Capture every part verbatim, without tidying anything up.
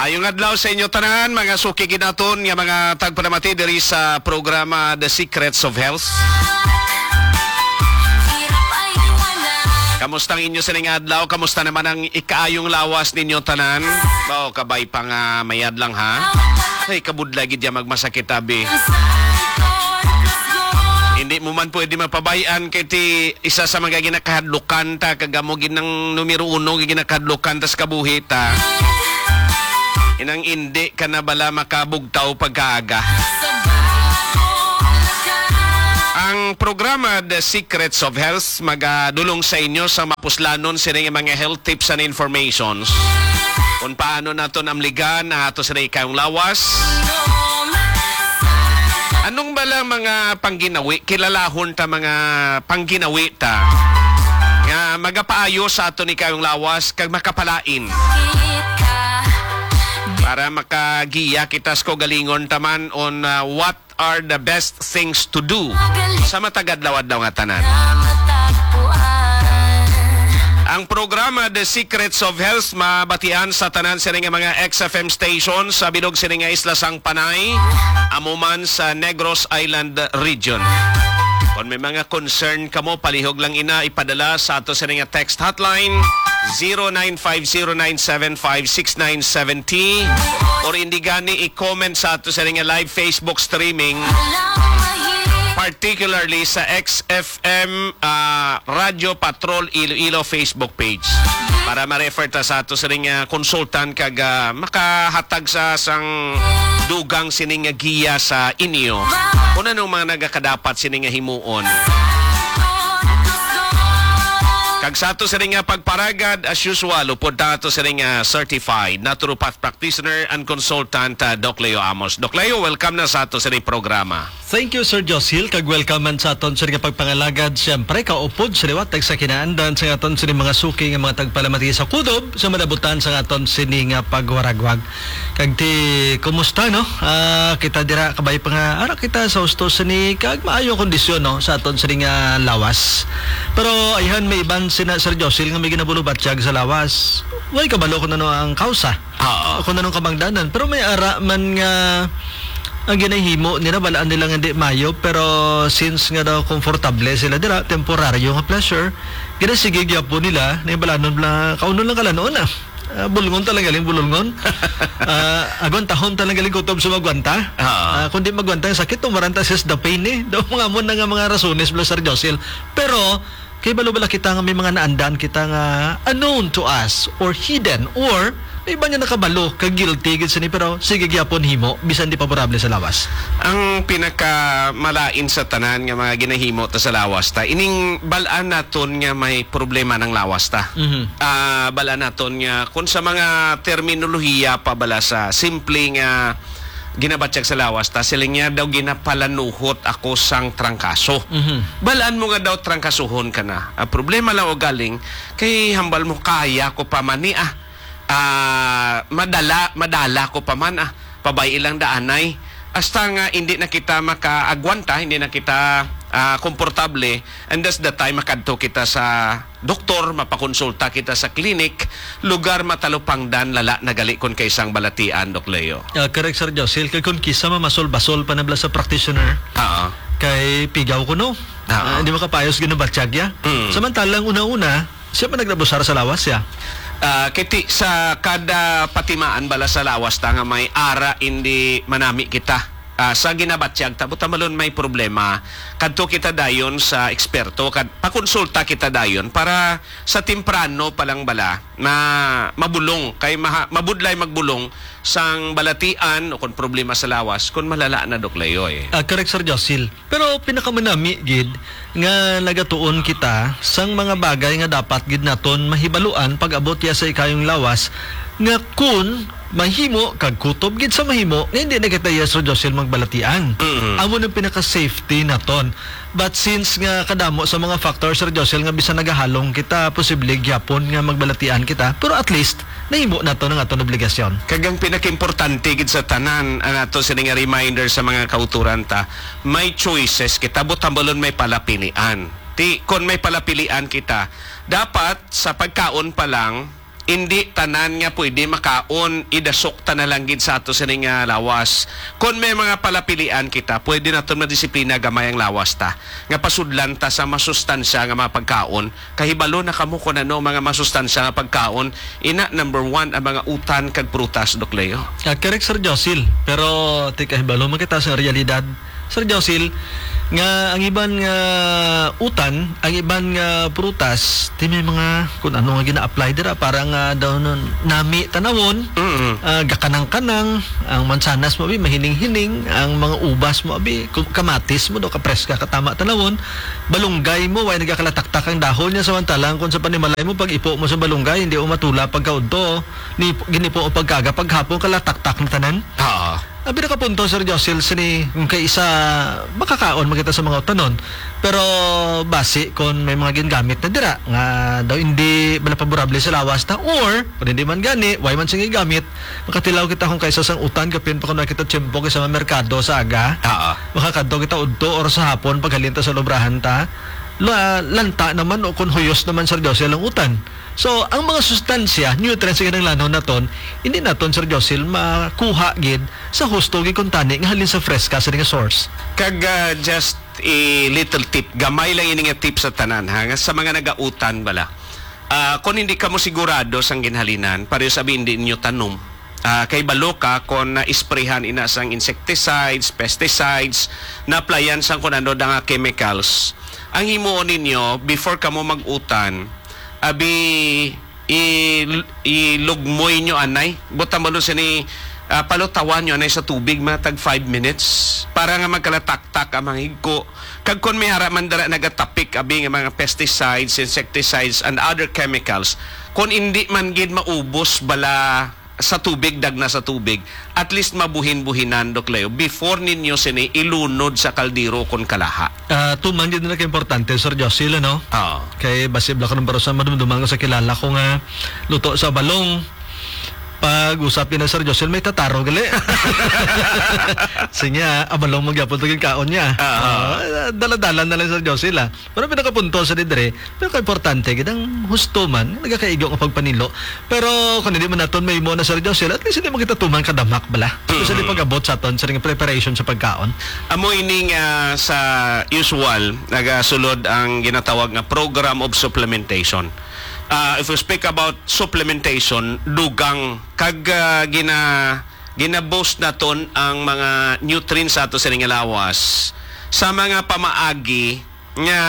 Ayong adlaw sa inyo tanan, mga suki gid naton nga mga tagpalamati diri sa programa The Secrets of Health. Kamusta ang inyo sining adlaw? Kamusta naman ang ikaayong lawas ninyo tanan? Bao, kabay pa nga mayad lang, ha? Ay, kabudlay gid ya magmasakit, abi. Hindi mo man pwede mapabayan kay ti isa sa mga ginakahadlukan ta, kag amo gid nang numero uno nga ginakahadlukan ta sa kabuhi ta. Inang indi ka na bala makabugtaw pagkaaga. Ang programa The Secrets of Health magadulong sa inyo sa mapuslanon sini nga mga health tips and informations kung paano naton amligan ang ato sini kayong lawas. Anong bala mga pangginawi, kilalahon ta mga pangginawi ta nga magapaayo sa ato ni kayong lawas kag makapalain para makagiya kita sa kaugalingon ta man on, uh, what are the best things to do sa matag adlaw-adlaw nga tanan. Ang programa The Secrets of Health mabatian sa tanan sini nga mga X F M stations sa bilog sini nga isla sang Panay, amo man sa Negros Island Region. Kung may mga concern kamo, palihog lang ina ipadala sa ato sini nga text hotline, zero nine five zero nine seven five six nine seven zero, or indi gani i-comment sa ato sini nga live Facebook streaming, particularly sa X F M, ah, Radio Patrol Iloilo Facebook page para ma-refer ta sa ato sining, ah, consultant kag, ah, makahatag sa sang dugang sining nga giya sa inyo kung anong mga nagakadapat sining nga himuon. Kag sa ato sining nga pagparagad, as usual, upod ta ato sining, ah, certified naturopath practitioner and consultant, ah, Doc Leo Amos. Doc Leo, welcome na sa ato sining programa. Thank you, Sir Josil, kag welcome man sa aton sini nga pagpangalagad. Siyempre, kaupod sa liwat, tag sa kinaandan sa aton sini mga suki nga mga tagpalamati sa kudob sa malabutan sa aton sini nga pagwaragwag. Kag ti, kumusta, no? Ah, kita dira, kabay pa nga, ara kita sa husto sini, kag maayo ang kondisyon, no, sa aton sini nga lawas. Pero ayhan, may iban sina, Sir Josil, nga may ginabulubatyag sa lawas. Way kabalo kung ano ang kausa. Oo. Kung anong kabangdanan. Pero may ara man nga ang ginahimo nila, balaan nila nga di mayo, pero since nga daw komportable sila dira, temporaryo nga pleasure, ginasige gyapon nila, na yung balanon lang, kaunon lang kalanon na. Ah, bulngon talaga galing bulungon. Ah, agwantahon talaga galing kutob sa magwanta. Oo. Ah, kung di magwanta ang sakit, tumaran ta sa the pain, eh. Daw mga mo na nga mga rasones, bala, Sir Josil. Pero, kay balo bala kita nga may mga naandan kita nga unknown to us or hidden or may iba nga nakabalo kag guilty gid sini pero sige gyapon himo bisan di favorable sa lawas. Ang pinakamalain sa tanan nga mga ginahimo ta sa lawas ta ining bal-an naton nga may problema ng lawas ta. Mhm. Ah, bal-an naton nga kung sa mga terminolohiya pa bala sa simple nga ginabatyag sa lawas ta, sila niya daw ginapalanuhot ako sang trangkaso. Mhm. Balaan mo nga daw trangkasuhon ka na. Ang problema lang o galing, kay hambal mo, "Kaya ko pa man ni, ah. Ah, madala, madala ko pa man, ah. Pabay ilang daanay." Hasta nga hindi na kita makaagwanta, hindi na kita, ah, komportable, and that's the time makadto kita sa doktor, mapakonsulta kita sa klinik, lugar matalupangdan, lala na gali kon kay sang balatian, Doc Leo. Ah, correct, Sir Josil. Kay kun kisa mamasol-basol pa na bala sa practitioner, Oo. kay pigaw kuno. Oo. Ah, hindi makapayos ginabatyag ya. Mm. Samantalang una-una, siya pa nagrabusar sa lawas ya. Ah, kay ti-, sa kada patimaan bala sa lawas ta nga may ara, hindi manami kita. Ah, sa ginabatyag ta, buta malon may problema, kadto kita dayon sa eksperto, kad-, pakonsulta kita dayon para sa temprano pa lang bala na mabulong, kay maha-, mabudlay magbulong sang balatian o kung problema sa lawas, kung malala na, Doc Leo, eh. Ah, correct, Sir Josil. Pero pinakamanami gid nga nagatuon kita sang mga bagay nga dapat gid naton mahibaluan pag-abot ya sa ikayong lawas, nga kun mahimo kag kutob gid sa mahimo nga hindi na kita, Sir Josil, magbalatian. Mm. Amo nang pinaka-safety naton. But since nga kadamo sa mga factor, Sir Josil, nga bisan nagahalong kita, posible gyapon nga magbalatian kita, pero at least nahimo nato ang aton obligasyon. Kag ang pinakaimportante gid sa tanan, ang ato sini nga reminder sa mga kauturan ta, may choices kita, buot hambalon may palapilian. Ti, kon may palapilian kita, dapat sa pagkaon pa lang, Indi tanan nga pwede makaon, idasok ta na lang gid sa ato sini nga lawas. Kon may mga palapilian kita, pwede naton madisiplina gamay ang lawas ta, nga pasudlan ta sa masustansya nga mga pagkaon. Kahibalo na kamo kon ano ang mga masustansya nga pagkaon. Ina, number one ang mga utan kag prutas, Doc Leo. Ah, correct, Sir Josil. Pero ti kahibalo man kita sa realidad, Sir Josil, nga ang iban nga utan, ang iban nga prutas, ti may mga kung ano nga gina-apply dira, para nga daw nun, nami tanawon, Mm. ah, gakanang-kanang, ang mansanas mo abi, mahining-hining, ang mga ubas mo abi, ku-, kamatis mo daw, kapreska, katama tanawon, balunggay mo, way nagakalataktak ang dahon niya, samantalang kung sa panimalay mo, pag ipo mo sa balunggay, hindi mo matula pagkaudto, ni, ginipo ang pagkaga, paghapon kalataktak na tanan. Oo. Ang pinakapunto, Sir Josil, sini, kung kay isa, makakaon man kita sa mga utanon. Pero basi kung may mga gingamit na dira, nga daw hindi bala paborable sa lawas ta, or kung hindi man gani, way man sing gamit, makatilaw kita kung kaysa sang utan, kapin pa kung nakita tiyempo kay sa mga merkado sa aga. Oo. Makakadto kita udto or sa hapon, paghalin ta sa lubrahan ta. La-, lanta naman o kung huyos naman, Sir Josil, ang utan. So, ang mga sustansya, nutrients nga kinahanglanon naton, hindi naton, Sir Josil, makuha gid sa husto gid kuntani nga halin sa freska sa nga source. Kag, ah, just a little tip, gamay lang ini nga tip sa tanan, ha, nga sa mga nagautan bala. Ah, kung hindi kamo sigurado sang ginhalinan, pareho sa hindi ninyo tanom. Ah, kay balo ka kung na-isprayhan ina sang insecticides, pesticides, na-applyan sang kung ano da nga chemicals. Ang himuon ninyo, before kamo mag-utan, abi, i-, ilugmoy nyo anay. Butang balon sini, ah, palutawan nyo anay sa tubig, mga tag five minutes, para nga magkalataktak ang mga higko. Kag kon may ara man dira nagatapik, abi, nga mga pesticides, insecticides, and other chemicals, kon indi man gid maubos bala sa tubig, dagna sa tubig, at least mabuhin-buhinan, Doc Leo, before ninyo sini ilunod sa kaldero kon kalaha. Ah, tuman gid na ka importante, Sir Josil, ano? Oo. Kay basi bala ko nang barusan madumduman ko sa kilala ko nga luto sa balong. Pag usap yun na, Sir Josil, may tataro gali. Sinya, abalong magyapon to yung kaon niya. Oo. Ah, dala-dala na lang, Sir Josil, ah. Pero pinakapunto sa didre, pero kaimportante gid ang husto man, nagakaigo nga pagpanilo. Pero kung hindi man naton may mo na, Sir Josil, at least hindi man kita tuman kadamak bala. Especially Mm. pag-abot sa aton sa ring preparation sa pagkaon. Amo ini nga sa usual, nagasulod ang ginatawag nga program of supplementation. Ah, if we speak about supplementation, dugang kag, ah, gina-, gina-boost naton ang mga nutrients sa ato sa ring lawas sa mga pamaagi nga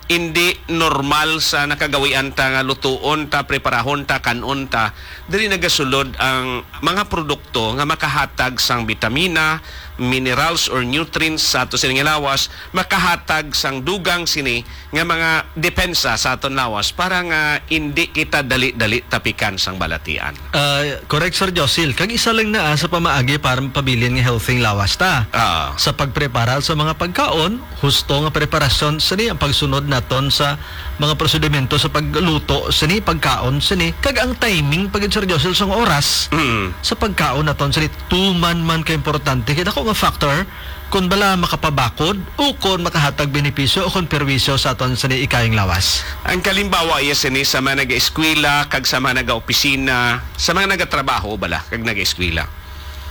hindi normal sa nakagawian ta nga lutuon ta, preparahon ta, kan-on ta, diri nagasulod ang mga produkto nga makahatag sang bitamina, minerals or nutrients sa ato sining lawas, makahatag sang dugang sini nga mga depensa sa aton lawas para nga indi kita dali-dali tapikan sang balatian. Ah, correct, Sir Josil. Kag isa lang na, ah, sa pamaagi para mapabilin nga healthy ang lawas ta. Ah. Sa pagprepara sa mga pagkaon, husto nga preparasyon sini ang pagsunod naton sa mga prosedimento sa pagluto sini, pagkaon sini, kag ang timing pa gid, Sir Josil, sang oras Mm. sa pagkaon naton sini, tuman man ka importante. Kay dako nga factor kung bala makapabakod o kung makahatag benepisyo o kung perwisyo sa aton sini ikayong lawas. Ang kalimbawa iya sini sa mga nag-eskwela kag sa mga nag-opisina, sa mga nagatrabaho bala kag nag-eskwela.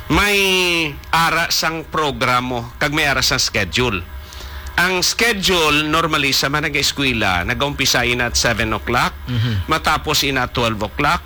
May ara sang programo kag may ara sang schedule. Ang schedule, normally, sa mga nag-eskwela, nag-umpisa ina at seven o'clock, Mhm. matapos ina at twelve o'clock,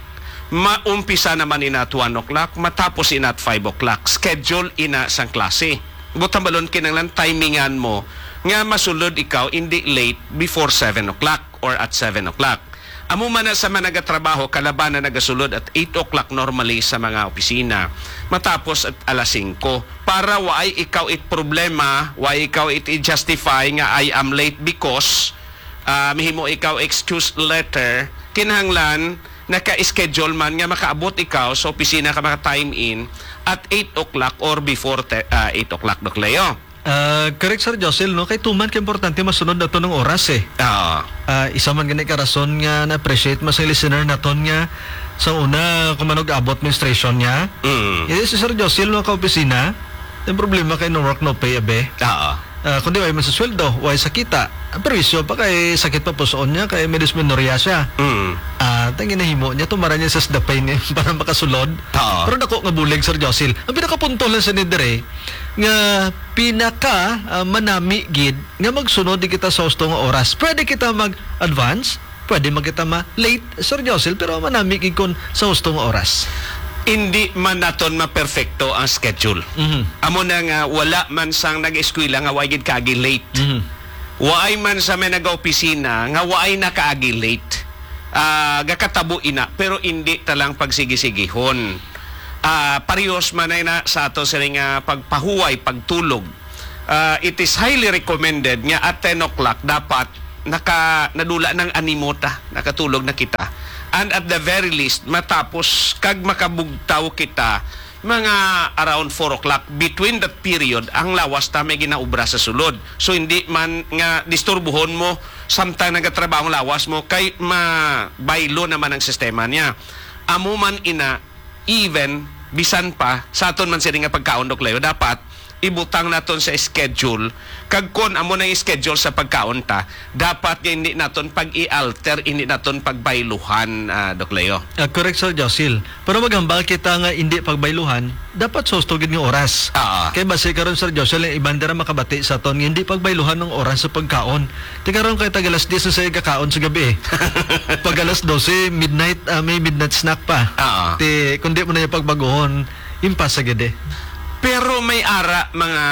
maumpisa naman ina at one o'clock, matapos ina at five o'clock. Schedule ina sang klase. Butang balon, kinahanglan timingan mo nga masulod ikaw, hindi late before seven o'clock or at seven o'clock. Amo man na sa mga nagatrabaho, kalaban na nagasulod at eight o'clock normally sa mga opisina, matapos at alas singko. Para waay ikaw it problema, waay ikaw it i-justify nga, "I am late because," ah, mihimo ikaw excuse letter, kinahanglan naka-schedule man nga makaabot ikaw sa opisina ka maka-time in at eight o'clock or before te-, ah, eight o'clock, Doc Leo. Ah, correct, Sir Josil, no? Kay tuman ka importante masunod nato ng oras, eh. Oo. Ah, isa man gani ka rason nga na-appreciate mo sa listener naton nga sa una, kung manog abot menstruation niya. Mm. Eh, si Sir Josil, no, ka opisina, yung problema kay no work, no pay, abe. Oo. Ah, kundi way man sa sweldo, way sa kita. Ang perwisyo pa kay sakit pa pusoon niya, kay may dysmenorrhea siya. Mm. Ah, ang ginahimo niya, tumara niya sa Sdapay niya para makasulod. Oo. Pero dako nga bulig, Sir Josil. Ang pinakapunto lang sa ni dire, nga pinaka, ah, manami gid nga magsunod di kita sa husto nga oras. Pwede kita mag-advance, pwede man kita ma-late, Sir Josil, pero manami gid kon sa husto nga oras. Hindi man naton maperfecto ang schedule. Mhm. Amo na nga wala man sang nag-eskwela nga wa gid kaagi late. Mhm. Waay man sa may nagaopisina nga waay nakaagi late. Ah, gakatabo ina, pero hindi ta lang pagsigisigihon. Ah, parehas man ay na sa ato sini nga pagpahuway, pagtulog. Ah, it is highly recommended nga at ten o'clock dapat naka, nadula ng animo ta, nakatulog na kita. And at the very least, matapos kag makabugtaw kita, mga around four o'clock, between that period, ang lawas ta may ginaobra sa sulod. So, hindi man nga disturbuhon mo, samtang nagatrabaho ang lawas mo, kay mabaylo naman ang sistema niya. Amo man ina, even, bisan pa, sa aton man sini nga pagkaon, Doc Leo, dapat ibutang naton sa schedule, kag kon amo na yung schedule sa pagkaon ta, dapat nga hindi naton pag-i-alter, hindi naton pagbayluhan, ah, Doc Leo. Ah, correct, Sir Josil. Pero maghambal kita nga hindi pagbayluhan, dapat sa husto gid nga oras. Ah. Kay basi karon, Sir Josil, ang iban dira makabati sa aton nga hindi pagbayluhan ang oras sa pagkaon. Ti karon kay tag alas diyes na sa gakaon sa gabi, eh. Pag alas dose, midnight, ah, may midnight snack pa. Ah. Ti, kung di mo na yung pagbaguhon, impas sa gid, eh. Pero may ara mga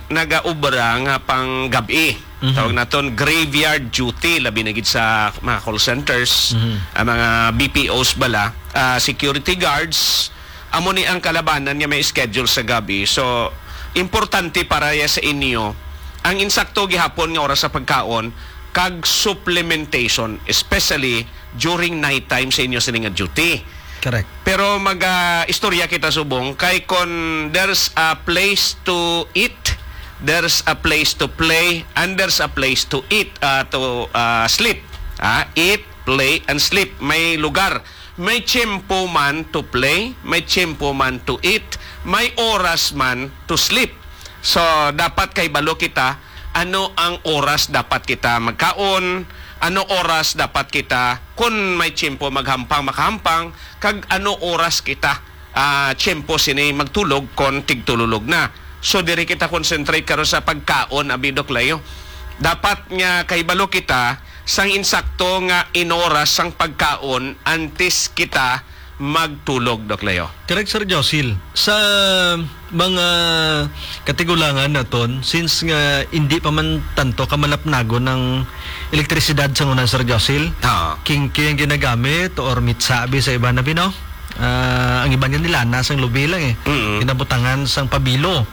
nagaobra nga pang gabi. Mhm. Tawag naton graveyard duty, labi na gid sa mga call centers, Mhm. ang mga B P Os bala, ah, security guards, amo ni ang kalabanan nga may schedule sa gabi. So, importante para ya sa inyo ang insakto gihapon nga oras sa pagkaon kag supplementation, especially during night time sa inyo sini nga duty. Correct. Pero mag, ah, istorya kita subong kay kon there's a place to eat, there's a place to play, and there's a place to eat, ah, to, ah, sleep. Ah, eat, play, and sleep. May lugar. May tiyempo man to play, may tiyempo man to eat, may oras man to sleep. So, dapat kahibalo kita ano ang oras dapat kita magkaon, ano oras dapat kita, kun may tiyempo maghampang, makahampang, kag ano oras kita, ah, tiyempo sini magtulog kon tigtululog na. So, diri kita concentrate karon sa pagkaon, abi, Doc Leo. Dapat nga kahibalo kita sang insakto nga inoras sang pagkaon antes kita magtulog, Doc Leo. Correct, Sir Josil. Sa mga katigulangan naton, since nga hindi pa man tanto kamalapnagon ang elektrisidad sa una, Sir Josil, Ha. kingki ang ginagamit or mitsa abi sa iban, abi, no? Ah, ang iban nga nilana sang lubi lang, eh. Mm. Ginabutangan sang pabilo.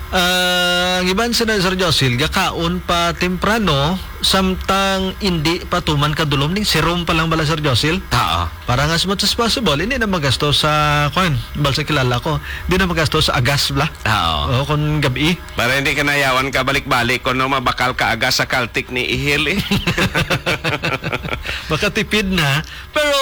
Ah, ang iban sila, Sir Josil, gakaon pa temprano, samtang indi pa tuman kadulom ning serum pa lang bala, Sir Josil. Oo. Para nga as much as possible, hindi na magasto sa, kwan, bal sa kilala ko, hindi na magasto sa agas, bala. Oo. O, kung gabi. Para hindi ka nayawan ka balik-balik, kung no, mabakal ka agas sa Caltex ni Ihil, eh. Makatipid na, pero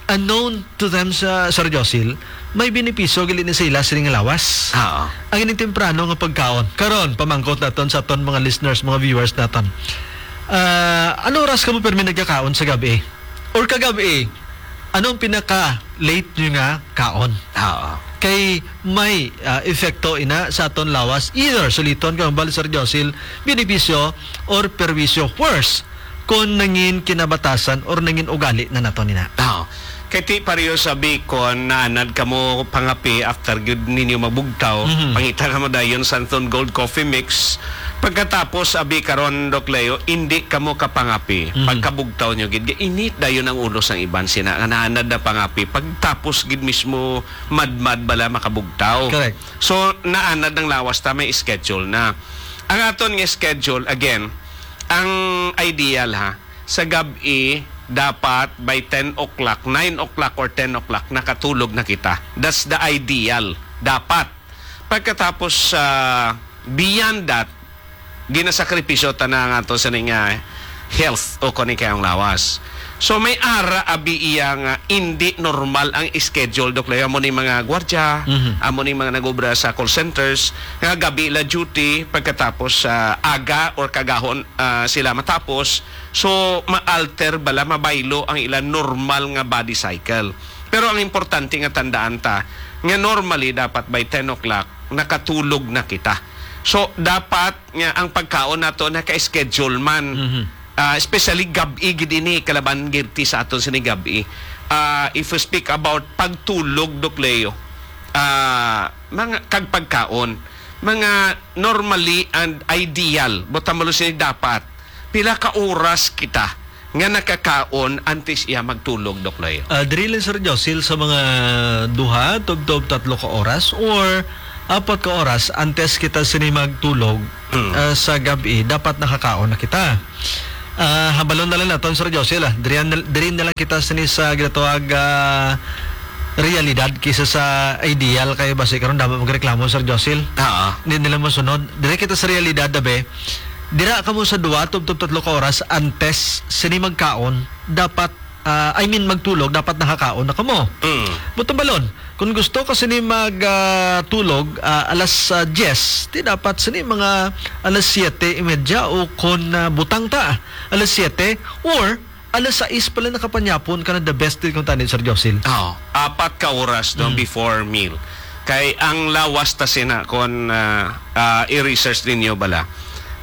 unknown to them sa Sir Josil, may benepisyo gali ni sa ila sining lawas. Oo. Ang ining temprano nga pagkaon. Karon, pamangkot naton sa aton mga listeners, mga viewers naton. Ah, ano oras kamo pirmi nagkakaon sa gabi? Or kagabi, ano ang pinaka late nyo nga kaon? Oo. Kay may, ah, epekto ina sa aton lawas. Either suliton ka, bali, Sir Josil, benepisyo or perwisyo. Worse, kung nangin kinabatasan or nangin ugali na nato nina. Tao. Kay ti pareho sa Bicol, naanad kamo pangapi after gyud ninyo mabugtaw, Mhm. pangita kamo dayon Santon Gold Coffee Mix. Pagkatapos, abi karon, Doc Leo, hindi kamo kapangapi. Mhm. Pagkabugtaw nyo gid, init dayon ang ulo sang iban sina nga naanad na pangapi. Pagtapos gid mismo, madmad bala makabugtaw. Correct. So, naanad ang lawas ta, may schedule na. Ang aton nga schedule, again, ang ideal, ha, sa gab-i, dapat by ten o'clock, nine o'clock or ten o'clock, nakatulog na kita. That's the ideal. Dapat. Pagkatapos, ah, beyond that, ginasakripisyo ta na nga to sa ning, ah, health o kani kayong lawas. So, may ara abi iya nga indi normal ang schedule, Doc Leo. Amo ni mga gwardya, Mhm. amo ni mga nag-obra sa call centers, nga gabi la duty, pagkatapos sa aga or kagahon, ah, sila matapos. So, ma-alter bala, mabaylo ang ila normal nga body cycle. Pero ang importante nga tandaan ta, nga normally dapat by ten o'clock, nakatulog na kita. So, dapat nga ang pagkaon nato naka-schedule man. Mhm. Ah, especially gab-i gid ini, kalaban gid ti sa aton sini gab-i. Ah, if we speak about pagtulog, Doc Leo, ah, mga, kag pagkaon, mga normally and ideal, buot silingon dapat, pila ka oras kita nga nakakaon antes iya magtulog, Doc Leo? Ah, diri lang, Sir Josil, sa mga duha, tubtob tatlo ka oras, or apat ka oras antes kita sini magtulog, Mm. ah, sa gab-i, dapat nakakaon na kita. Ah, hambalon na lang naton, Sir Josil, ah. Diri na, diri na lang kita sini sa ginatawag, ah, realidad kaysa sa ideal, kay basi karon damo magreklamo, Sir Josil. Oo. Hindi nila masunod. Diri kita sa realidad, dabe. Dira kamo sa duha, tubtob tatlo ka oras antes sini magkaon, dapat, ah, I mean, magtulog, dapat nakakaon na kamo. Mm. Buot silingon, kung gusto ka sini mag, ah, tulog, ah, alas, ah, diyes, di dapat sini mga alas siyete y media o kon, ah, butang ta, alas siyete or alas sais pala nakapanyapon ka na, the best din kung tani, Sir Josil. Oo. Apat ka oras, no, Mm. before meal. Kay ang lawas ta sina, kon, ah, ah, i-research ninyo bala,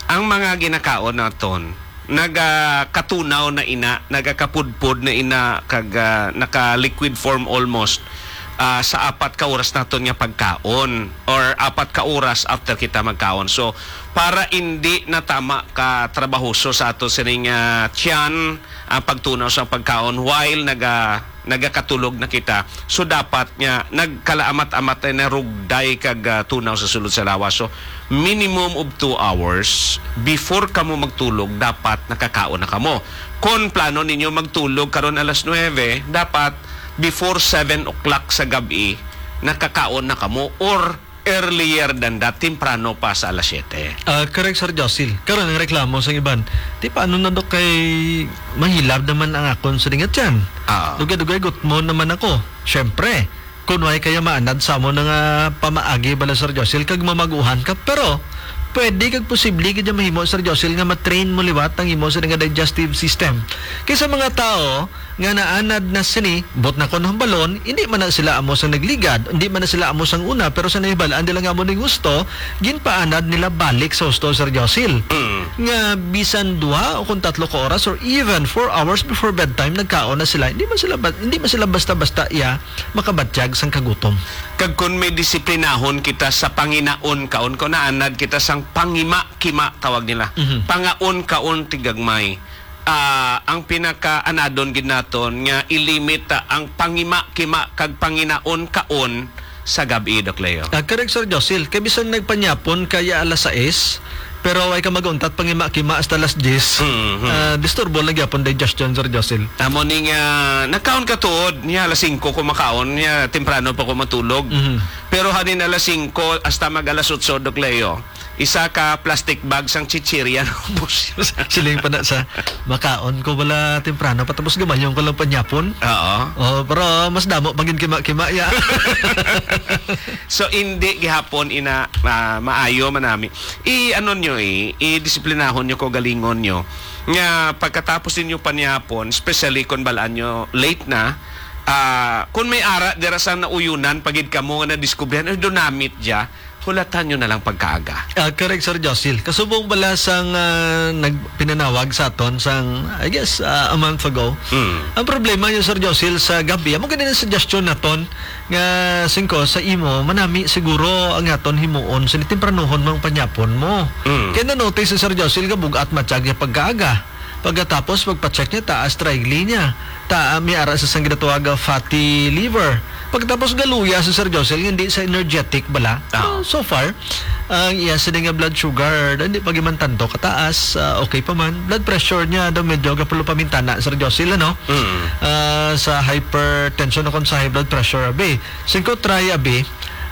ang mga ginakaon naton, nagakatunaw na ina, nagakapudpod na ina, kag, ah, naka-liquid form almost, ah, sa apat ka oras naton nga pagkaon or apat ka oras after kita magkaon. So, para indi na tama ka trabahoso sa ato sining, ah, tiyan, ang pagtunaw sa pagkaon while naga-, nagakatulog na kita. So, dapat nga nagkalaamat-amat na narugday kag, ah, tunaw sa sulod sa lawas. So, minimum of two hours before kamo magtulog, dapat nakakaon na kamo. Kon plano ninyo magtulog karon alas nuebe, dapat before seven o'clock sa gab-i, nakakaon na kamo or earlier than that, temprano pa sa alas siyete. Ah, correct, Sir Josil. Karon ang reklamo sa iban, "Ti paano na, Dok, kay mahilab naman ang akon sa dingat yan? Ah. Dugay-dugay gutmon naman ako." Siyempre, kung way kaya maanad sa amo na nga pamaagi bala, Sir Josil, kag mamaguhan ka, pero pwede kag posible gid mahimo, Sir Josil, nga ma-train mo liwat ang imo sa nga digestive system. Kay sa mga tao, nga naanad na sini, buot silingon, hindi man na sila amo sang nagligad, hindi man na sila amo sang una, pero sa nahibal-an nila nga amo ning husto, ginpaanad nila balik sa husto, Sir Josil. Mm. Nga bisan duha o kung tatlo ka oras or even four hours before bedtime, nagkaon na sila. Hindi man sila ba-, hindi man sila basta-basta iya makabatyag sang kagutom. Kag kung may disiplinahon kita sa panginaon kaon, kung naanad kita sang pangima-kima, tawag nila. Mhm. Pangaon kaon ti gagmay. Ah, ang pinakaanadon gid naton nga i-limit ta ang pangima-kima kag panginaon kaon sa gab-i, Doc Leo. Ah, correct, Sir Josil. Kay bisan nagpanyapon kaya alas sais, pero way ka mag-untat pangima-kima hasta alas diyes. Mhm. Ah, disturbo lang gyapon digestion, Sir Josil. Amo ni nga, nagkaon ka tuod, niya alas singko ko makaon, niya temprano pa ko matulog. Mhm. Pero hanin alas singko hasta mag alas otso, Doc Leo, isa ka plastic bag sang chichirya, ubos. Siling pa na sa, "Makaon ko bala temprano, patapos gamayon ko lang panyapon." Oo. Oh, pero mas damo pa gid kima-kima, ya. So, hindi gihapon ina, ah, maayo man nami. I-ano nyo, eh, i-disiplinahon nyo, kaugalingon nyo. Nga pagkatapos ninyo panyapon, especially kung balaan nyo late na, ah, kung may ara, dira sa nauyunan, pagid kamo nga nadiskubrihan, "Ay, dunamit dya." Hulatan nyo na lang pagkaaga. Ah, correct, Sir Josil. Kasubong bala sang, ah, nagpinanawag sa aton sang, I guess, ah, a month ago. Mm. Ang problema nyo, Sir Josil, sa gabi, amo gani ang suggestion naton nga singko sa imo, manami siguro ang aton himuon sa tempranuhon mang panyapon mo. Mm. Kaya na-notice si Sir Josil nga bug-at matyag niya pagkaaga. Pagkatapos, pagpa-check niya, taas triglyceride niya. Ta, may ara sa sang ginatawag nga fatty liver. Pagkatapos, galuya si Sir Josel, hindi sa energetic bala. Ah. So, so far, ang iya sini nga blood sugar, hindi pa giman tanto kataas, ah, okay pa man. Blood pressure niya, daw medyo gapulo pa mintana, Sir Josel, ano? Mm. Ah, sa hypertension o kung sa high blood pressure, abi. Singko try, abi.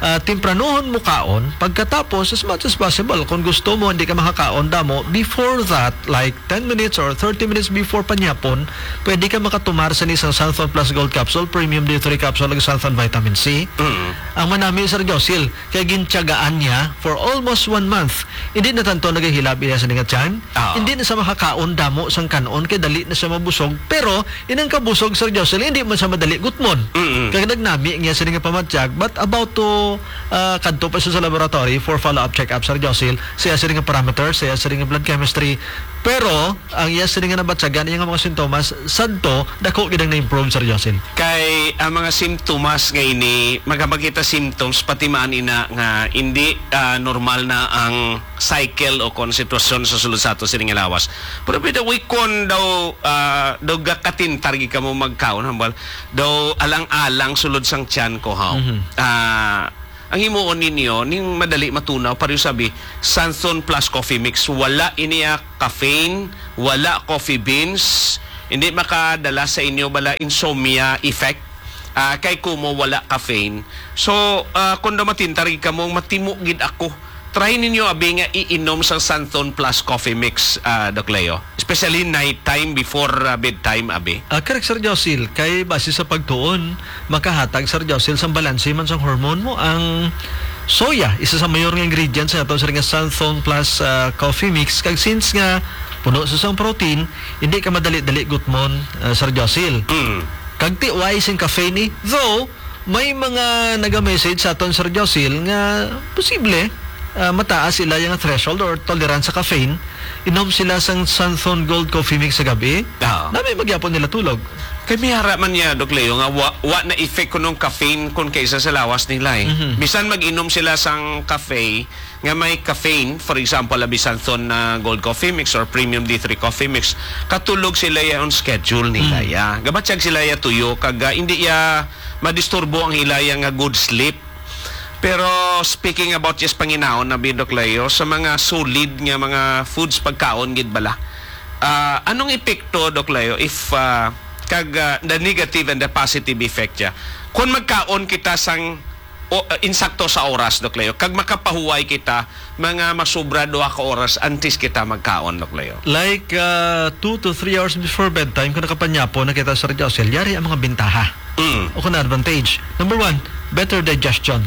ah, tempranuhon mo kaon. Pagkatapos, as much as possible, kung gusto mo, hindi ka makakaon damo, before that, like, ten minutes or thirty minutes before panyapon, pwede ka makatumar sa isang Santhon Plus Gold Capsule, Premium D three Capsule, ug Santhon Vitamin C. Mm. Ang manami, Sir Josil, kay gintiyagaan niya for almost one month. Hindi na tanto nagahilab iya sa nga tiyan. Oo. Hindi na siya makakaon damo sang kanon kay dali na siya mabusog. Pero inang kabusog, Sir Jocelyn, hindi man siya madali gutmon. Mm-mm. Kag nagnami niya sini nga pamatyag, but about to, ah, kadto pa siya sa laboratory for follow-up check-up, Sir Jocelyn, sa iya sini nga parameters, sa iya sini nga blood chemistry. Pero ang iya sini nga nabatyagan, iya nga mga sintomas, sadto, dako gid ang na-improve, Sir Jocelyn. Kay ang mga simptomas nga ini, magapakita symptoms, pati man ina nga hindi, ah, normal na ang cycle o kon sitwasyon sa sulod sa ato sini nga lawas. Pero by the way, kon daw, ah, daw gakatintar gid kamo magkaon, hambal, daw alang-alang sulod sang tiyan ko, haw. Mhm. Ah, ang himuon ninyo, ning madali matunaw, pareho sabi, Santhon plus coffee mix. Wala ini, ah, caffeine, wala coffee beans, hindi makadala sa inyo bala insomnia effect. Ah, kay kumo wala caffeine. So, ah, kung daw matintar gid kamo, matimo gid ako. Try ninyo abi nga iinom sang Santhon Plus Coffee Mix, ah, Doc Leo. Especially night time before, ah, bedtime, abi. Ah, correct, Sir Josil. Kay base sa pagtuon, makahatag, Sir Josil, sang balanse man sang hormone mo ang soya, isa sa mayor nga ingredient sa aton sini nga Santhon Plus, ah, Coffee Mix. Kag since nga puno sa sang protein, hindi ka madali-dali gutmon, ah, Sir Josil. Mm. Kag tiway sing caffeine ni. Though, may mga naga-message sa aton, Sir Josil, nga posible, ah, mataas ila nga threshold or tolerance sa caffeine. Inom sila sang Santhon Gold Coffee Mix sa gabi. Oo. Nami magyapon nila tulog. Kay may ara man niya, Doc Leo, nga wa, wa na effect kunong caffeine kun kaysa sa lawas nila, eh. Mhm. Bisan mag-inom sila sang cafe nga may caffeine, for example, abi Santhon na Gold Coffee Mix or Premium D three Coffee Mix, katulog sila ya on schedule nila, Mm. ya. Gabatyag sila ya tuyo, kag, ah, hindi ya madisturbo ang ila ya nga good sleep. Pero speaking about just panginaon na, Doc Leo, sa mga solid nga mga foods, pagkaon gid bala, ah, anong epekto, Doc Leo, if, ah, kag, ah, the negative and the positive effect ya? Kung magkaon kita sang o, uh, insakto sa oras, Doc Leo. Kag makapahuway kita, mga masubra duha ka oras antes kita magkaon, Doc Leo. Like, uh, two to three hours before bedtime, kung nakapanyapon na kita, Sir Josel, yari ang mga bintaha Mm. o kung advantage. Number one, better digestion.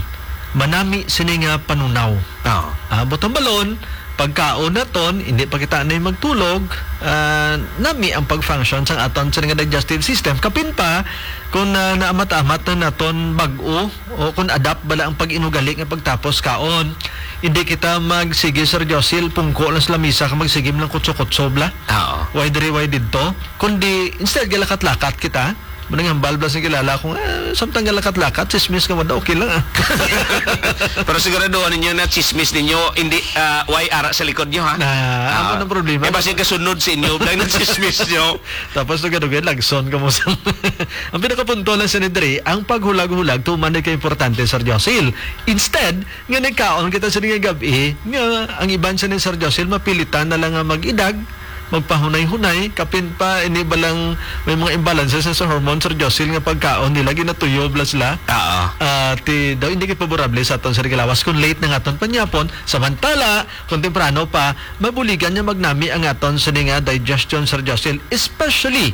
Manami sini nga panunaw. Oo. Ah, butang balon, pagkaon naton, hindi pa kita anay magtulog, ah, nami ang pag-function sang aton sini nga digestive system. Kapin pa, kung, ah, naamat-amat na naton bag-o, o kung adapt bala ang pag-inugali nga pagtapos kaon. Hindi kita magsige, Sir Josil, pungko lang sa lamisa ka magsige lang kutso-kutso bala. Oo. Way diri, way didto. Kundi, instead, galakat-lakat kita. Manang hambal bala sa kilala ko nga, "Ah, samtang galakat-lakat, chismis ka man daw, okay lang, ah." Pero siguraduhan ninyo na chismis ninyo, hindi, ah, way ara sa likod nyo, ha? Na, Ah. Ano ang problema? Eh, basin kasunod sa inyo, dahil nang chismis nyo. Tapos, dugay-dugay, lagson ka mo sa Ang pinakapunto lang sa ni diri, ang paghulag-hulag, tuman ni ka importante, Sir Josil. Instead, nga nagkaon kita sa nga gab-i, nga ang iban sa ni Sir Josil, mapilitan na lang nga mag-idag, magpahunay-hunay, kapin pa, ini ba lang may mga imbalances sa hormone, Sir Josil, nga pagkaon nila, ginatuyo bala sila. Oo. Ah, ti, daw hindi kay favorable sa aton sa naglawas kung late na nga aton panyapon, samantala, kung temprano pa, mabuligan niya magnami ang aton sini nga digestion, Sir Josil, especially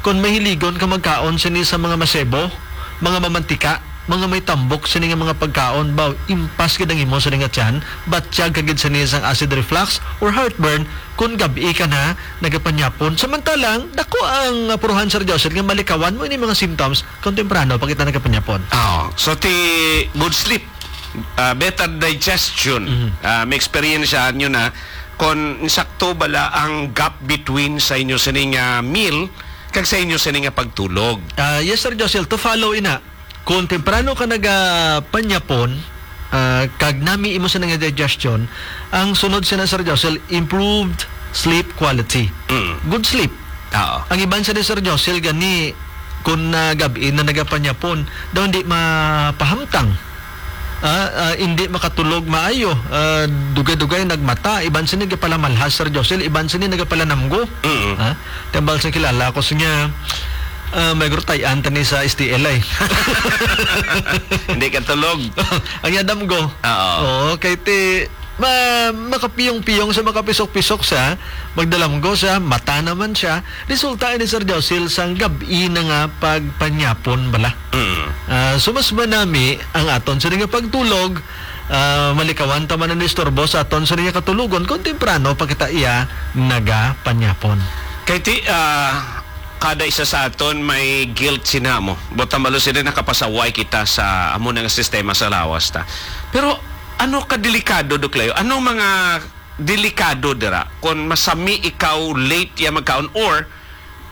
kung mahiligon ka magkaon sini sa mga masebo, mga mamantika, mga may tambok sini nga mga pagkaon, ba, impas gid ang imo sini nga tiyan, batyag ka gid sini sang acid reflux or heartburn kung gab-i ka na nagapanyapon. Samantalang, dako ang apuruhan, Sir Josil, nga malikawan mo ini mga symptoms kung temprano pa kita nagapanyapon. Oh, so ti good sleep, ah, better digestion. Mhm. Ah, may experience nyo na kung sakto bala ang gap between sa inyo sini nga meal kag sa inyo sini nga pagtulog. Ah, yes, Sir Josil, to follow ina. Kung temprano ka nagapanyapon, ah, kag nami imo sa nga digestion, ang sunod sina, Sir Josil, improved sleep quality. Mm. Good sleep. Oo. Ang iban sa ni Sir Josil gani, kung na gab-i na nagapanyapon, daw hindi mapahamtang. Ah, ah, hindi makatulog maayo. Ah, dugay-dugay nagmata. Iban sini gapalamalhas, Sir Josil. Iban sini nagapalanamgo. Mm. Ah, tambal sa kilala ko sa niya, Ah, may gurutay-an tani sa S T L ay. Hindi ka tulog. Ang yadam ko. Oo. Oo, kay ti, ma-, makapiyong-piyong sa makapisok-pisok siya, magdalamgo siya, mata naman siya. Resulta ni Sir Josil sang gab-i na nga pagpanyapon bala. Mm. Ah, so mas manami ang aton sini nga pagtulog, ah, malikawan ta man ang istorbo sa aton sini nga katulogon kung temprano pa kita iya nagapanyapon. Kay ti, ah, kada isa sa aton may guilt sina mo. Buot silingon, nakapasaway kita sa amo na nga sistema sa lawas ta. Pero ano ka delikado, Doc Leo? Ano mga delikado dira kung masami ikaw, late ya magkaon, or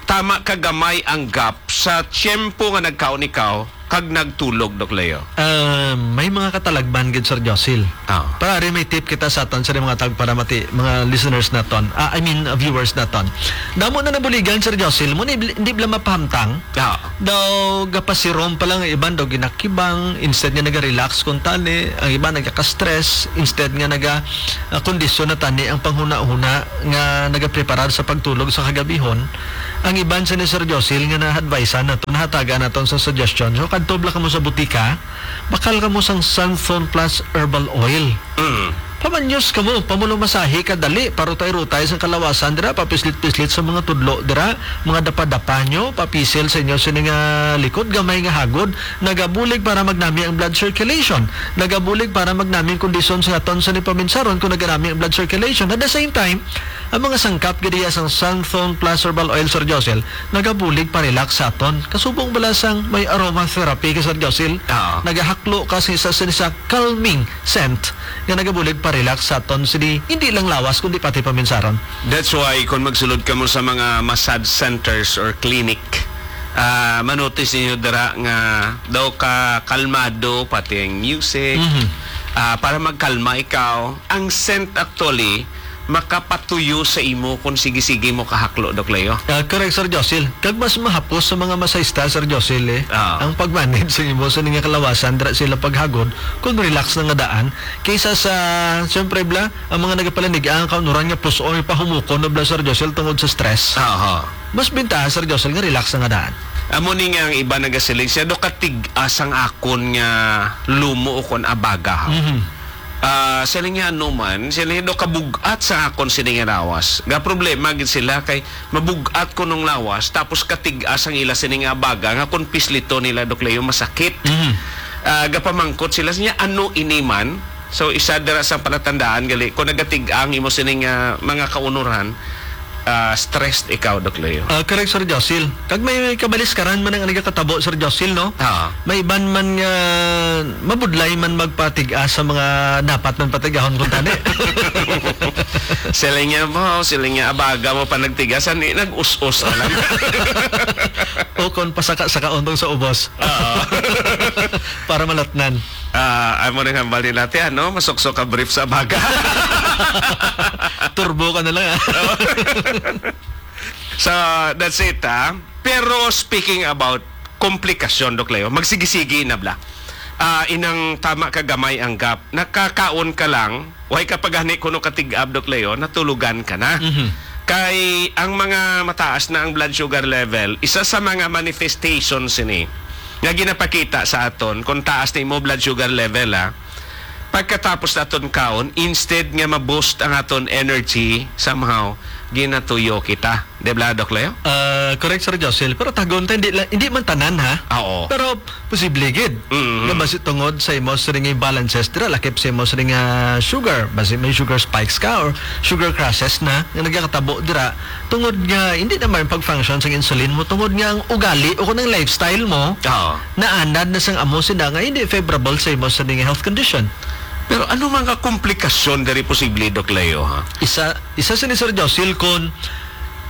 tama ka gamay ang gap sa tiyempo nga nagkaon ikaw kag nagtulog, Doc Leo? Ah, may mga katalagman gid, Sir Josil. Ah. Para ari may tip kita sa aton sa mga tagparamati, mga listeners naton. Ah, I mean, uh, viewers naton. Damo na nabuligan, Sir Josil, mo ni, hindi bala mapahamtang. Ah. Daw gapasirom pa lang ang iban, daw ginakibang, instead nga naga-relax kung tani, ang iban nagaka-stress, instead nga naga, ah, kondisyon na tani ang panghuna-huna nga nagapreparar sa pagtulog sa kagabihon. Ang iban sa ni Sir Josil nga na-advisean nato, nahatagan naton sa suggestion. So, kadto bala kamo sa butika, bakal kamo sang Santhon Plus Herbal Oil. Mm. Pamanyos kamo, pamulumasahi ka dali, parutay-rutay sang kalawasan dira, papislit-pislit sa mga tudlo dira, mga dapa-dapa nyo, papisil sa inyo sini nga likod, gamay nga hagod, nagabulig para magnami ang blood circulation, nagabulig para magnami ang kondisyon sa aton sa ni paminsaron kung naganami ang blood circulation. At the same time, ang mga sangkap gid iya sang Santhon Plus Herbal Oil, Sir Josil, nagabulig pa-relax sa aton. Kasubong bala sang may aromatherapy ka, Sir Josil? Oo. Nagahaklo ka sa isa, sa isa calming scent nga nagabulig pa-relax sa aton sini, hindi lang lawas, kundi pati paminsaron. That's why kung magsulod kamo sa mga massage centers or clinic, ah, manotice ninyo dira nga daw ka kalmado, pati ang music, Mhm. ah, para magkalma ikaw. Ang scent actually, makapatuyo sa imo kung sige-sige mo kahaklo, Doc Leo. Ah, correct, Sir Josil. Kag mas mahapos sa mga masahista, Sir Josil, eh, Ah. ang pag-manage sa imo sa nga kalawasan, dira sila paghagod, kung relax na nga daan, kaysa sa, siyempre, bla, ang mga nagapalanig ang kaunuran nga pus-oy pahumukon na, bla, Sir Josil, tungod sa stress. Aha. Mas bintaha, Sir Josil, nga relax na nga daan. Amo ni nga ang iba nagasiling siya, do katig-as ang akon nga lumo o kon abaga, ha? Mhm. Ah, siling niya, "Ano man?" Siling niya, "Do kabug-at sa akon sini nga lawas." Ga problema gid sila kay mabug-at kunong lawas, tapos katig-as ang ila sini nga abaga nga kung pislito nila, Doc Leo, masakit. Mhm. Ah, gapamangkot sila niya, "Ano ini man?" So, isa dira sa palatandaan gali kung nagatig-a ang imo sining, ah, mga kaunuran, ah, stressed ikaw, Doc Leo. Ah, correct, Sir Josil. Kag may kabaliskaran man ang nagakatabo, Sir Josil, no? Ah. May iban man nga mabudlay man magpatig-a sa mga dapat man patig-ahon kung tani. Siling niya mo, siling niya, "Abaga mo pa nagtigasan, eh, nag-us-us na lang." O kon pasaka-saka untong sa ubos. Oo. Para malatnan. Ah, amo rin hambal nila, "Te, ano, masuksok ka brief sa abaga." Turbo ka na lang, ah. So, that's it, ah. Pero speaking about komplikasyon, Doc Leo, magsigi-sigi na bla. Ah, inang tama ka gamay ang gap. Nakakaon ka lang, way ka pa gani kuno katig-ab, Doc Leo, natulugan ka na. Mhm. Kay ang mga mataas na ang blood sugar level, isa sa mga manifestation sini nga ginapakita sa aton kung taas na imo blood sugar level, ha. Pagkatapos naton kaon, instead nga ma-boost ang aton energy, somehow, ginatuyo kita. Di ba, Doc Leo? Ah, correct, Sir Josil. Pero tagon ta, hindi la-, hindi man tanan, ha? Ah, oo. Pero posible gid. Mm-hmm. Nga basi tungod sa imo siring nga imbalances dira, lakip sa imo siring nga sugar, basi may sugar spikes ka or sugar crashes na nga nagakatabo dira, tungod nga hindi na may pag-function sang insulin mo, tungod nga ang ugali o kung ang lifestyle mo, Oo. naanad na sang amo sina nga hindi favorable sa imo siring nga health condition. Pero ano mga komplikasyon diri posible, Doc Leo, ha? Isa, isa sini, Sir Josil, kon,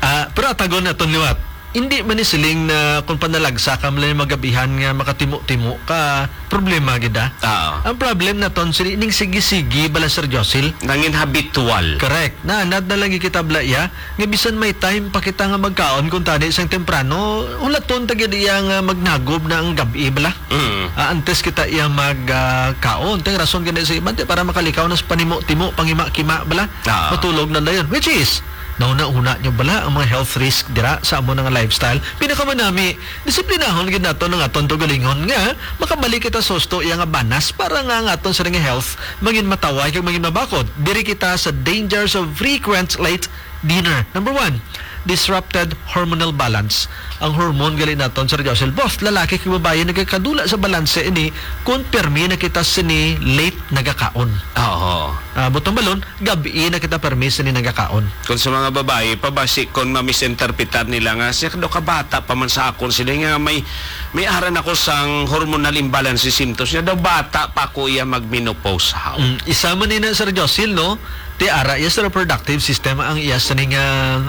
ah, pero atagon naton liwat. Hindi man ni siling na kung panalagsa ka man lang magabihan nga makatimo-timo ka, problema gid, ah. Oo. Ang problem naton sini ning sige-sige bala, Sir Josil. Nangin habitual. Correct. Naanad na lang kita bala iya nga bisan may time pa kita nga magkaon kung tani sang temprano, hulaton ta gid iya nga magnagob na ang gab-i bala. Mm. Ah, antes kita iya mag, ah, kaon. Tay rason gani sa iban, ti para makalikaw na sa panimo-timo, pangima-kima bala. Ah. Matulog na dayon. Which is, Nahuna-huna nyo bala ang mga health risk dira sa amo nga lifestyle? Pinakamanami, disiplinahon gid naton ang aton kaugalingon nga makabalik kita sa husto iya nga banas para nga ang aton sini nga health mangin mataway kag mangin mabakod. Diri kita sa dangers of frequent late dinner. Number one, disrupted hormonal balance. Ang hormone gali naton, Sir Josel, both lalaki kag babayi nagakadula sa balanse ini kung permi na kita sini late nagakaon. Oo. Ah, butang balon, gabi na kita permi sini nagakaon. Kung sa mga babayi pa, basi kung mamisinterpretar nila nga, "Siya daw kabata pa man sa akon sila nga may, may aran ako sang hormonal imbalance symptoms niya, daw bata pa ko iya mag-menopause." How? Mm, isa man ni na, Sir Josil, no? Ti ara iya sa reproductive system ang iya sini nga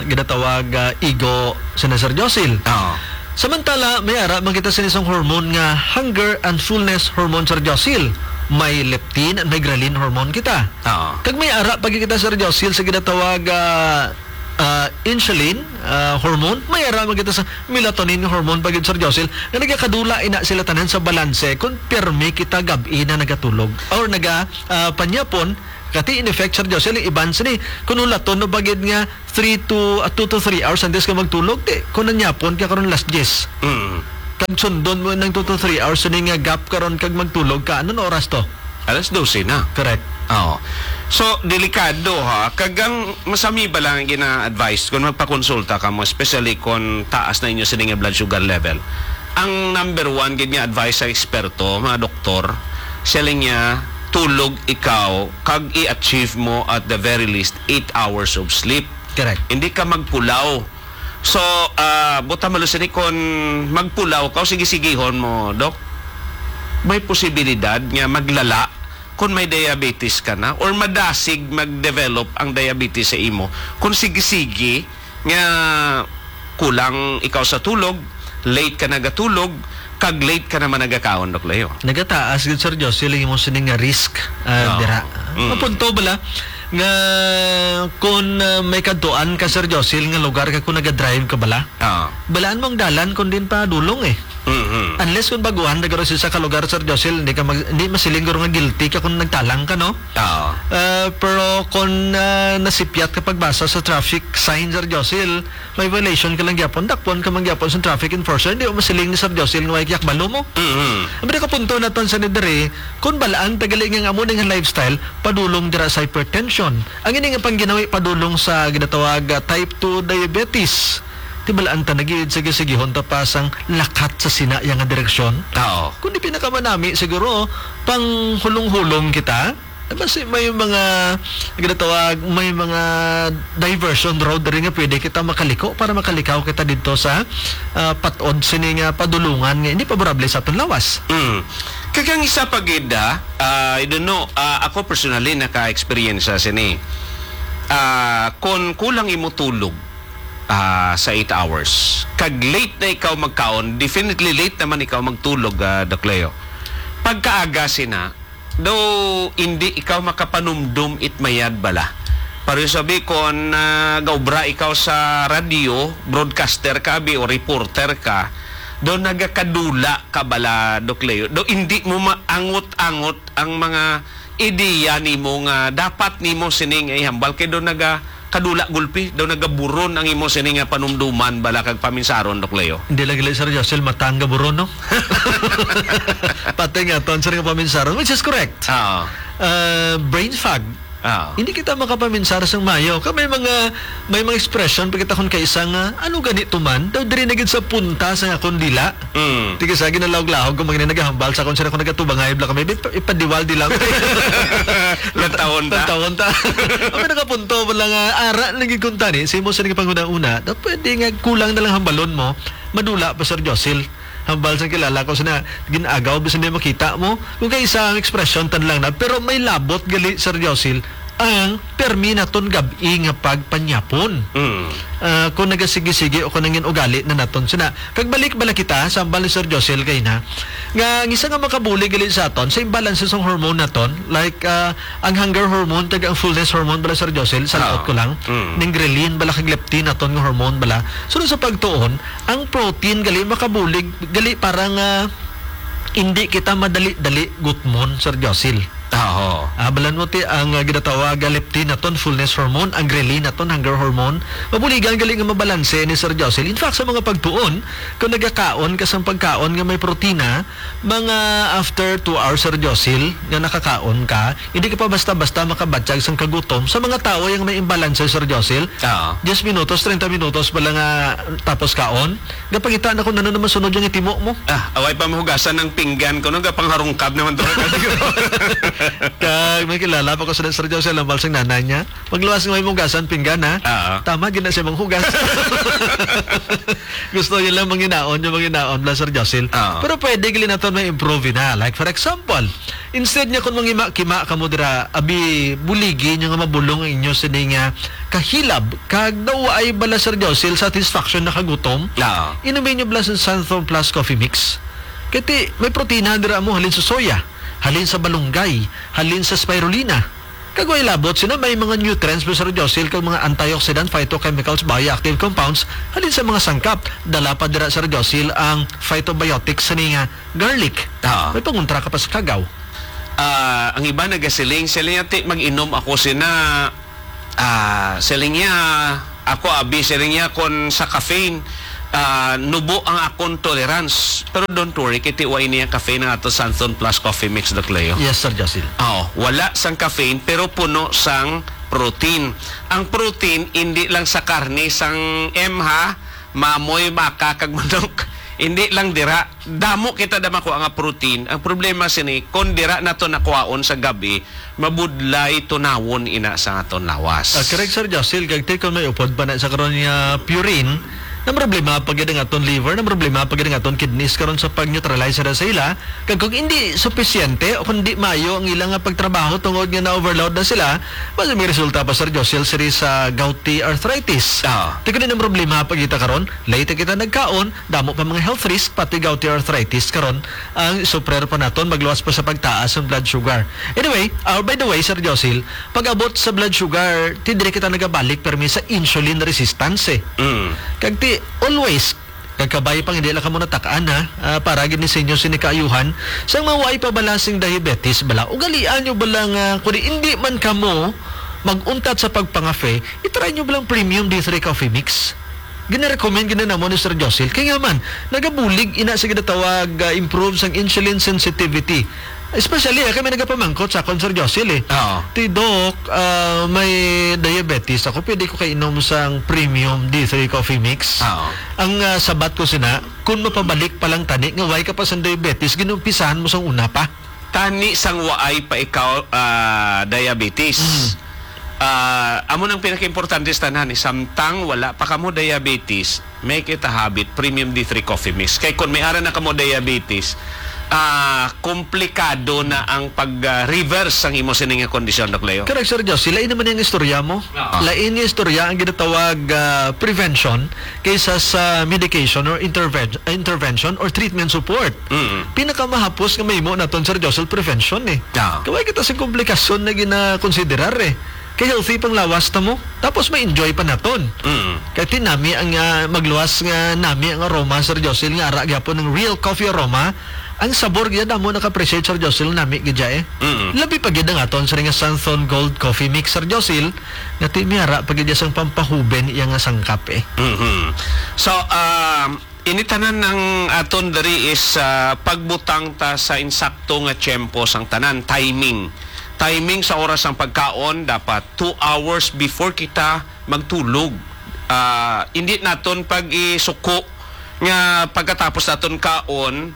ginatawag, ah, ego sa na, Sir Josil. Oo. Samantala, may ara man kita sini sang hormone nga hunger and fullness hormone, Sir Josil. May leptin and may ghrelin hormone kita. Oo. Kag may ara pa gid kita, Sir Josil, sa ginatawag, ah, ah, insulin, ah, hormone. May ara man kita sa melatonin hormone pa gid, Sir Josil, nga nagakadula ina sila tanan sa balanse kung pirmi kita gab-i na nagatulog or naga, ah, panyapon. Kati in effect, Sir Josil, ang iban sini, kung hulaton no ba gid nga three to, ah, two to three hours antes ka magtulog, ti, kung nanyapon ka karon alas diyes. Mm. Kag sundon mo nang two to three hours sini nga gap karon kag magtulog ka, anong oras to? Alas dose na. Correct. Oo. So, delikado, ha. Kag ang masami ba lang gina-advise kung magpakonsulta ka mo, especially kung taas na inyo sini nga blood sugar level? Ang number one gid nga advice sa eksperto, mga doktor, siling niya, tulog ikaw kag i-achieve mo at the very least eight hours of sleep. Correct. Hindi ka magpulaw. So, ah, buta malusin ni, kung magpulaw ka o sige-sigihon mo, Dok, may posibilidad nga maglala kung may diabetes ka na or madasig mag-develop ang diabetes sa imo kung sige-sige nga kulang ikaw sa tulog, late ka nagatulog, kag late ka naman nagakaon, Dok Leo. Nagataas gid, Sir Josie, ang imo sini nga risk, ah, Oo. dira. Mm. Mapunto bala nga kung, ah, may kadtuan ka, Sir Josie, nga lugar ka kung nagadrive ka bala, Oo. balaan mo ang dalan kung din pa dulong eh. Mhm. Unless kung baguhan na garo sa isa ka lugar, Sir Josie, hindi ka mag-, hindi masiling garo nga guilty ka kung nagtalang ka, no? Oo. Ah, pero kung, ah, nasipyat ka pagbasa sa traffic sign, Sir Josie, may violation ka lang gyapon, dakpon ka man gyapon sa traffic enforcer, hindi mo masiling ni Sir Josie nga may kiyakbalo mo. Mhm. Ang pinakapunto naton sa ni diri, kung balaan ta gali nga ang amo ning lifestyle, padulong dira sa hypertension. Ang ini nga pangginawi padulong sa ginatawag, ah, type two diabetes. Ti balaan ta na gid, sige-sigihon ta pa sang lakat sa sina iya nga direksyon. Oo. Kundi pinakamanami siguro, panghulong-hulong kita. Eh, basi may mga, ginatawag, may mga diversion road diri nga pwede kita makaliko para makalikaw kita didto sa, ah, patod sini nga padulungan nga hindi favorable sa aton lawas. Mm. Kag ang isa pa gid, ah, ah, I don't know, ah, ako personally naka-experience sa sini. Ah, kon kulang imo tulog, ah, sa eight hours, kag late na ikaw magkaon, definitely late naman ikaw magtulog, ah, Doc Leo. Pagkaaga sina, daw hindi ikaw makapanumdum it mayad bala. Pareho sabi kon, ah, gaobra ikaw sa radyo, broadcaster ka, abi, o reporter ka, daw nagakadula ka bala, Doc Leo. Daw hindi mo maangot-angot ang mga ideya nimo nga dapat nimo sining ihambal kay daw nagakadula gulpi, daw nagaburon ang imo sini nga panumduman bala kag paminsaron, Doc Leo. Hindi lang gali, Sir Josie, mata ang gaburon, no? Pati nga aton, sir, nga paminsaron, which is correct. Oo. Ah, brain fog. Oo. Hindi kita makapaminsar sang mayo. Kay may mga, may mga expression pa kita kon kaisa nga, "Ano gani to man?" Daw diri na gid sa punta sa akon dila. Mm. Ti kisa ginalawag-lawag ko mga nagahambal sa akon, sila ko nagatubangay, bla kami, "Ip-, ipadiwal di lang." Lantawon ta. Lantawon ta. Ang nakapunto mo lang, ah, ara lagi kung tani, sa imo sa nagpanghuna-una, daw pwede nga kulang na lang hambalon mo, madula pa, Sir Josil. Hambal sang kilala ko sina gin-agaw bisan di makita mo. Kung kay isa ang ekspresyon tan lang na, pero may labot gali, Sir Josil, ang permi naton gab-i nga pagpanyapon. Mm. Ah, kung nagasigi-sigi o kung nangin ugali na naton sina. Kag balik bala kita sa hambal ni Sir Josil kay na, nga ang isa nga makabulig gali sa aton sa imbalance sa hormone naton, like, ah, ang hunger hormone kag ang fullness hormone bala, Sir Josil, sa laot Ah. ko lang, Mm. ning ghrelin bala kag leptin naton nga hormone bala. So, sa pagtuon, ang protein gali makabulig gali para nga hindi kita madali-dali gutmon, Sir Josil. Aho. Ah, balan mo ti ang, ah, ginatawag nga leptin naton, fullness hormone, ang ghrelin naton, hunger hormone. Mabuligan gali nga mabalanse ni Sir Josil. In fact, sa mga pagtuon, kung nagakaon ka sang pagkaon nga may protina, mga after two hours, Sir Josil, nga nakakaon ka, hindi ka pa basta-basta makabatyag sang kagutom. Sa mga tao yang may imbalance, Sir Josil, Oo. diyes minutos, treinta minutos pa lang nga tapos kaon, gapangita na kung ano naman sunod yung itimo mo. Ah, away pa mahugasan ng pinggan ko, no? Gapangharungkab naman to. Kag may kilala pa ko sa Sir Josil, ang balsang nanay niya. Magluwas nga may hugasan pinggan, ha? Oo. Tama, gina siya manghugas. Gusto niya lang manginaon, yung manginaon lang, Sir Josil. Oo. Pero pwede gali naton may improve na. Like, for example, instead niya kung mangima-kima ka mo dira, abi, buligi niyo nga mabulong ang inyo sini nga kahilab, kag daw ay bala, Sir Josil, satisfaction na kagutom. Oo. Inumin niyo bala sa Santhon Plus Coffee Mix. Kati, may protina dira mo, halin sa soya, halin sa balunggay, halin sa spirulina. Kag way labot sina may mga nutrients mo, Sir Josil, kag mga antioxidant, phytochemicals, bioactive compounds, halin sa mga sangkap. Dala pa dira, Sir Josil, ang phytobiotics sa nga garlic. Oo. May pangontra ka pa sa kagaw. Ah, ang iba nagasiling, siling niya, "Ti, mag-inom ako sina," ah, siling niya, "Ako, abi," siling niya, "kon sa caffeine, ah, nubo ang akon tolerance." Pero don't worry, kiti wa ini ang caffeine ang ato Santhon Plus Coffee Mix, Doc Leo. Yes, Sir Josil. Oh, wala sang caffeine, pero puno sang protein. Ang protein, hindi lang sa karne sang M, ha, mamoy, baka, kag manok. Hindi lang dira. Damo kita da makuha nga protein. Ang problema sini, kung dira nato nakuhaon sa gabi, mabudlay tunawon ina sa aton lawas. Ah, correct, Sir Josil. Kag ti kon may upod pa na sa karon nga purine, na problema pa gid ang aton liver, na problema pa gid ang aton kidneys karon sa pag-neutralize sa ila. Kag kung hindi supisyente o kung di maayo ang ilang nga pagtrabaho tungod nga na-overload na sila, mas may resulta pa, Sir Josil, siri sa gouty arthritis. Ah. Ti kon ang problema pa kita karon, late kita nagkaon, damo pa mga health risk, pati gouty arthritis karon ang suffer pa naton, magluwas pa sa pagtaas ang blood sugar. Anyway, ah, by the way, Sir Josil, pag-abot sa blood sugar, ti diri kita nagabalik permi sa insulin resistance, eh. Mm. Kag ti, always, kag kabay pang hindi lang kamo natak-an, ha, ah, para gid ni sa inyo sini kaayuhan, sang mga way pa bala sing diabetes bala, ugalian nyo bala nga, kung hindi man kamo mag-untat sa pagpangafe, i-try nyo bala ang premium D three Coffee Mix. Gina-recommend gid na namo ni Sir Josil. Kay nga man, nagabulig ina sa ginatawag, ah, improve sang insulin sensitivity. Especially, ah, kami nagapamangkot sa akon, Sir Josil, eh. Oo. Ti, "Doc, ah, may diabetes ako. Pwede ko kainom sang premium D three Coffee Mix?" Oo. Ang, ah, sabat ko sina, kung mapabalik pa lang tani, nga way ka pa sang diabetes, ginumpisahan mo sang una pa. Tani sang waay pa ikaw, ah, diabetes. Mm. Ah, amo nang pinakaimportante sa tanan, eh, samtang wala pa kamo diabetes, make it a habit, premium D three Coffee Mix. Kay kung may ara na kamo diabetes, ah, komplikado na ang pag, ah, reverse sang imo sini nga kondisyon, Doc Leo. Correct, Sir Josie. Lain naman yung istorya mo. Ah. Lain yung istorya ang ginatawag, ah, prevention kaysa sa medication or interven-, intervention or treatment support. Mm. Pinakamahapos nga mahimo naton, Sir Josie, prevention, eh. Ah. Kaway kita sa komplikasyon na ginakonsiderar, eh. Kay healthy pang lawas ta mo. Tapos may enjoy pa naton. Mm. Kay ti nami ang, ah, magluwas nga nami ang aroma, Sir Josie, nga ara gyapon ng real coffee aroma. Ang sabor gyud amo naka-appreciate, Sir Josie, nami gid siya, eh. Mm. Labi pa gid ang aton sa nga Santhon Gold Coffee Mix, Sir Josie, nga ti miara pa gid siya sang pampahuben iya nga sangkap, eh. Mhm. So, um, ini tanan ang aton diri is, ah, pagbutang ta sa insakto nga tiyempo sang tanan, timing. Timing sa oras sang pagkaon, dapat two hours before kita magtulog. Ah, hindi naton pag-isuko nga pagkatapos naton kaon,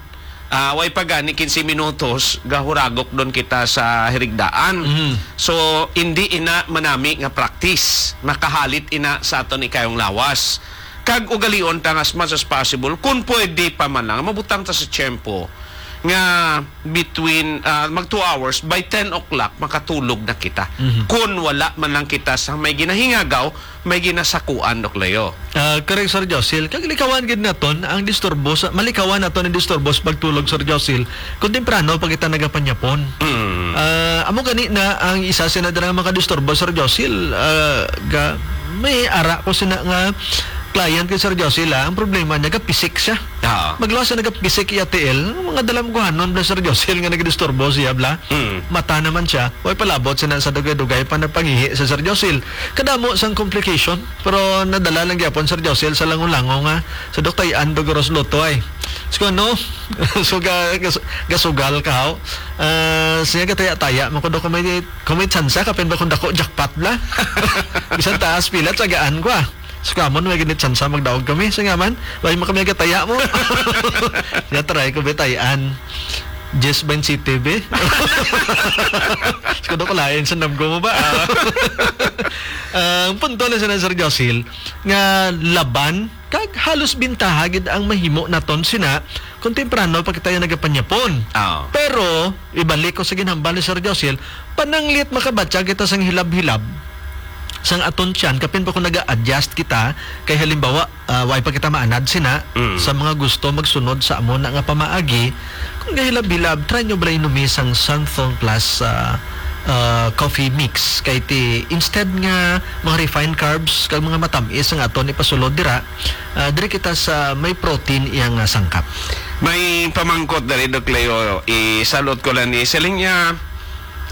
ah, way pa gani quince minutos, gahuragok don kita sa hirigdaan. Mhm. So, hindi ina manami nga practice. Makahalit ina sa aton ikayong lawas. Kag ugalion ta nga as much as possible, kung pwede pa man lang, mabutang ta sa tiyempo nga between, ah, mag two hours, by ten o'clock, makatulog na kita. Mhm. Kung wala man lang kita sa may ginahingagaw, may ginasakuan, Doc Leo. Ah, correct, Sir Josil. Kag likawan gid naton ang disturbo sa, malikawan naton ang disturbo sa pagtulog, Sir Josil, kung temprano pa kita nagapanyapon. Mm. Ah, amo gani na ang isa sina dira nga makadisturbo, Sir Josil, ah, ga, may ara ko sina nga client kay Sir Josil, ah, ang problema niya, gapisik siya. Oo. Magluwas siya nagapisik iya tiil, mga dalamguhanon bala, Sir Josil, nga nagadisturbo siya, bala. Mm. Mata naman siya, way palabot siya na sa dugay-dugay pa nagpangihi sa Sir Josil. Kadamo sang complication, pero nadala lang gyapon, Sir Josil, sa langon-langon nga, sa Dok Tayan, Dogoros Luto, ay. So, ano? So, ga-, gas-, gasugal ka, haw? Ah, siya gataya-taya, man ko daw kung may, kung may tsansa, kapin ba kung dako, jackpot, bala? Bisan taas, pila, tsagaan ko, ah. So, kamon, may gani tsansa magdaog kami. So, nga man, way mo kami gataya mo. Siya, try ko, bitay-an. Jess Bain City, be. So, kuno ko lain sa namgo mo ba? Ah, ang punto na sa Sir Josil, nga laban, kag halos bintaha gid ang mahimo naton sina kung temprano pa kita yung nagapanyapon. Oo. Pero, ibalik ko sa ginhambal ni Sir Josil, pananglit makabatya kita sang hilab-hilab sang aton tiyan, kapin pa kung naga-adjust kita, kay halimbawa, ah, way pa kita maanad sina Mm. sa mga gusto magsunod sa amo na nga pamaagi, kung gahilab-hilab, try nyo bala inumi sang Santhon Plus, ah, ah, coffee mix. Kay ti, instead nga mga refined carbs kag mga matamis ang aton ipasulod dira, ah, diri kita sa may protein iya nga sangkap. May pamangkot diri, Doc Leo, isalot ko lang ni, siling niya,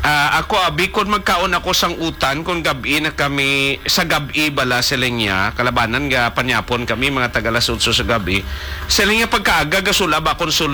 ah, ako, abi, kon magkaon ako sang utan, kon gab-i na kami, sa gab-i bala, siling niya, kalabanan nga panyapon kami, mga taga alas otso sa gab-i. Siling niya, pagkaaga, gasulab akon sulod